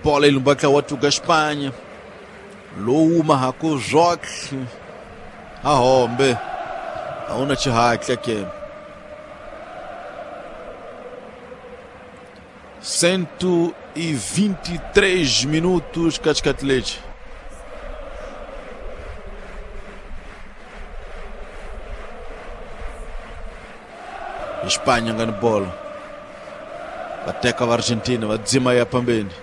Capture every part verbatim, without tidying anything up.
Bola ilumbaka watu ga Espanha lowu mahaku zwotlhe ahombe a huna xihatla ke cento e vinte e três minutos Cascatelete. Espanha ngani bola bateka va Argentina va dzima ya pambeni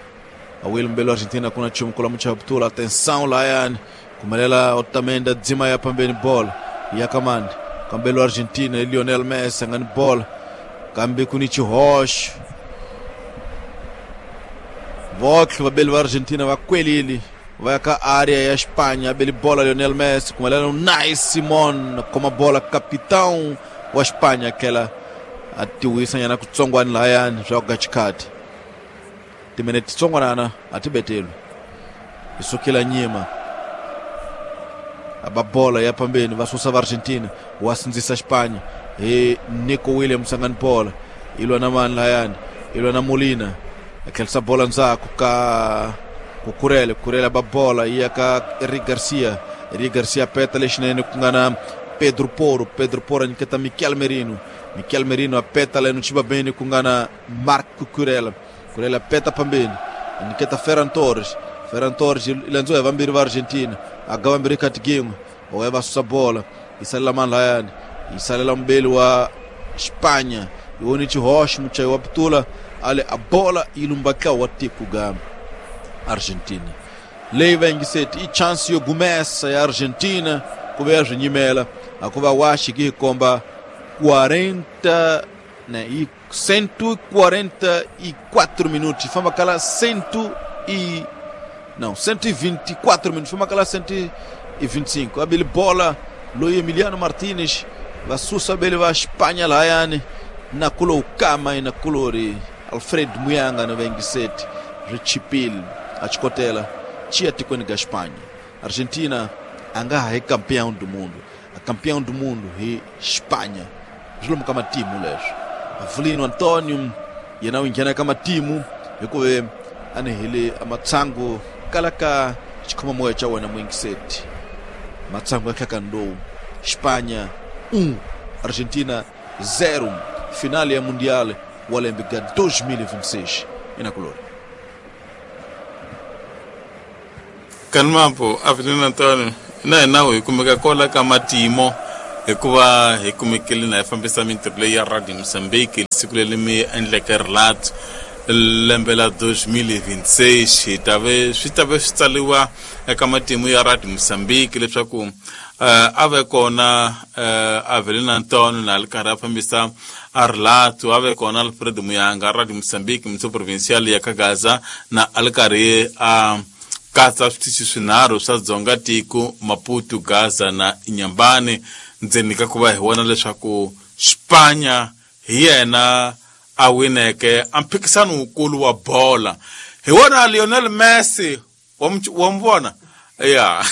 awile mbelo Argentina kuna chumu kula mchaptula atenção lá yani kumelela Otamendi dzima ya pambeni bola ya kamandi kambelo Argentina Lionel Messi ngani bola kambe kunichi Roche Vox vabeli va Argentina va kwelile va ya ka área ya Espanha abeli bola Lionel Messi kumelela Unai Simon koma bola capitão wa Espanha aquela atiwisa nyana kutsongwani layani swa ku xikati timinete titsongwanana atibetelo isukela nyima aba bola ya pambeni va susa va Argentina wa sindzisa Espanha hi Nico Williams angani bola ilwa na mani layani ilwa na Molina akhelisa bola ndzhaku ka Cucurella Cucurella ba bola iya ka Eric Garcia Eric Garcia peta lexinene ku nga na Pedro Porro Pedro Porro nyiketa Mikel Merino Mikel Merino apeta lá no Tibabene ku nga na Marco Cucurella Cucurella peta pambeni nyiketa Ferran Torres Ferran Torres ilandziwa hi vambirhi va Argentina aga vambirhi kati gin'we oya va susa bola yi salela mani layani yi salela mbeli wa Espanha iwoni Chihosh muchayi wa putula ale a bola yi lumbaka wa tiko ga Argentina leyi va yingiseti i chance yo gumesa ya Argentina ku ve ya swi nyimela akuva wa xiki hi komba quarenta né e cento e quarenta e quatro minutos famba kala cento e não cento e vinte e quatro minutos famba kala cento e vinte e cinco abele bola loyi Emiliano Martinez va susa bele va Espanha layani na kulo ukama na kulori Alfred Muyanga na vengiseti richipil achikotela chia tikweni ga Espanha Argentina anga hi campeão do mundo a campeão do mundo hi Espanha zwilomu ka matimu leswo Avelino Antonio yena u nghena ka matimu hikuva a ni hile amatsangu kala ka xikhomamoya xa wena muingiseti matsangu ya hlakani lowu Espanha um Argentina zero finale ya Mundial wa lembe ga dois mil e vinte e seis inakulori Kanmampo Avelino Antonio na hina hi kumeka kola ka matimo hikuva hi kumekile na hi fambisa mintirho leyi ya Radio Mozambique siku leri mi endleke relato lembe la dois mil e vinte e seis hi ta ve swi ta ve swi tsariwa eka matimu ya Radio Mozambique leswaku uh, a ve kona uh, Avelino Antonio na ri karhi a fambisa a relato a ve kona Alfred Muyanga Radio Mozambique mutso provincial ya Kagaza na a ri karhi a katsa switichi swinharhu swa Dzonga tiko Maputo Gaza na Inhambane ndzeni ka ku va hi vona leswaku Espanha hi yena a wineke a mphikisano wukulu wa bola hi wona Lionel Messi wa mu vona ya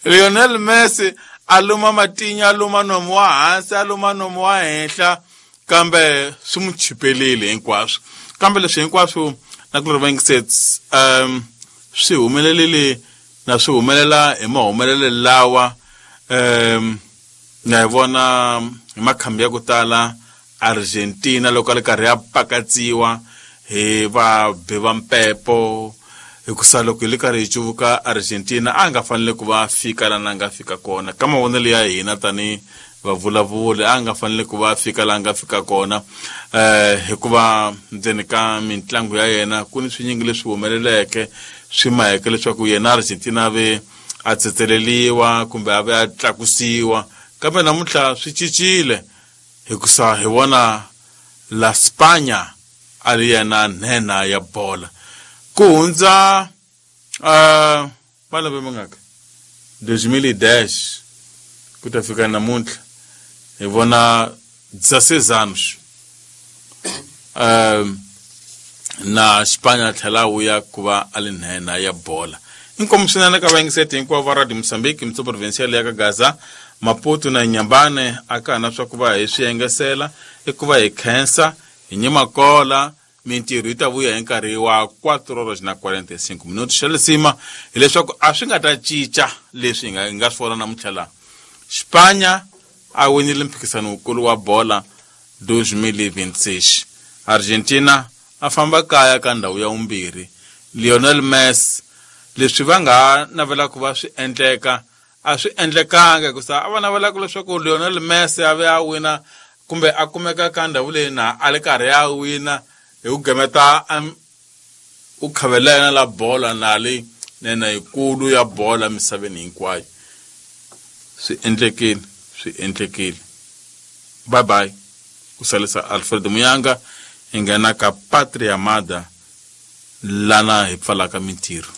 Lionel Messi a luma matinya a luma nomu wa hansi a luma nomu wa henhla kambe swi mu chipelile hinkwaswo kambe leswi hinkwaswo na ku ri um swi humelelile na swi humelela hi mahumelelo lawa um na hi vona hi makhambi ya ku tala Argentina loko a ri karhi ya pakatsiwa hi vabi va mpepo hikusa loko hi ri karhi hi cuvuka Argentina a nga fanele ku va fika laha a nga fika kona ka mavonelo ya hina tanihi vavulavuli a nga fanele ku va fika laha a nga fika kona eh hikuva ndzeni ka mintlangu ya yena ku ni swinyingi leswi humeleleke swi maheke leswaku yena Argentina a ve a tsetseleliwa kumbe a ve a tlakusiwa kambe namuntlha swi cincile hikusa hi vona la Spanya a ri yena nhenha ya bola ku hundza uh, malembe mangaka dois mil e dez ku ta fika namuntlha hi vona dezesseis anos uh, na Spanya tlhela wu ya ku va a ri nhenha ya bola inkomu swinene ka vayingiseti hinkwavo va Radio Mozambique mutso provincial ya ka Gaza Maputo na Inhambane a ka na swa ku va hi swi yengesela i ku va hi khensa Hi Nyimakola mintirho yi ta vuya hi nkarhi wa quatro horas na quarenta e cinco minutos. Xa lisima hileswaku a swi nga ta cinca leswi hi nga hi nga swi vona namuntlha laha. Xipanya a winile mphikizano wukulu wa bola dois mil e vinte e seis. Argentina a famba kaya ka ndhawu ya vumbirhi. Lionel Messi leswi va nga navelaka va swi endleka a swi endlekanga hikusa a va navelaka leswaku Lionel Messi a ve a wina kumbe a kumeka ka ndhawu leyi na a le karhi a wina hi ku gemeta u khavela yena la bola na le nena yikulu ya bola misaveni hinkwayo. Swi endlekile, swi endlekile. Bye bye. Ku salisa Alfred Muyanga hi nghena ka Patria Amada lana hi pfalaka mintirho.